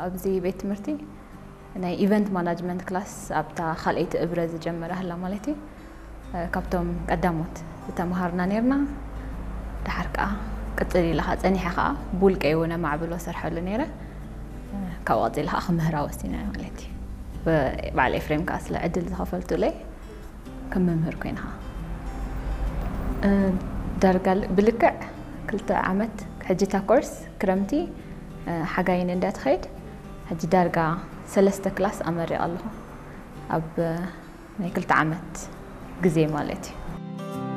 ኣብዚ ቤት ትምህርቲ ናይ event management class ኣብታ ካልኣይቲ እብረ ዝጀመረ ኣላ ማለት እዩ። ካብቶም ቀዳሞት ዝተምሃርና ነርና። ድሓር ከዓ ቅፅል ኢለ ከዓ ፀኒሐ ከዓ ብውልቀይ እውን ኣማዕብሎ ሰርሐሉ ነይረ። ካብኡ ቀፂለ ከዓ ክምህራ ወሲነ ማለት እዩ። በዓል ኤፍሬም ከዓ ስለ ዕድል ዝኸፈልቱለይ ከም መምህር ኮይነ ከዓ ዳርጋ ብልክዕ ክልተ ዓመት ሕጂ እታ ኮርስ ክረምቲ ሓጋይን እንዳትኸይድ ሕጂ ዳርጋ ሰለስተ ክላስ ኣመሪቐ ኣለኹ ኣብ ናይ ክልተ ዓመት ግዜ ማለት እዩ።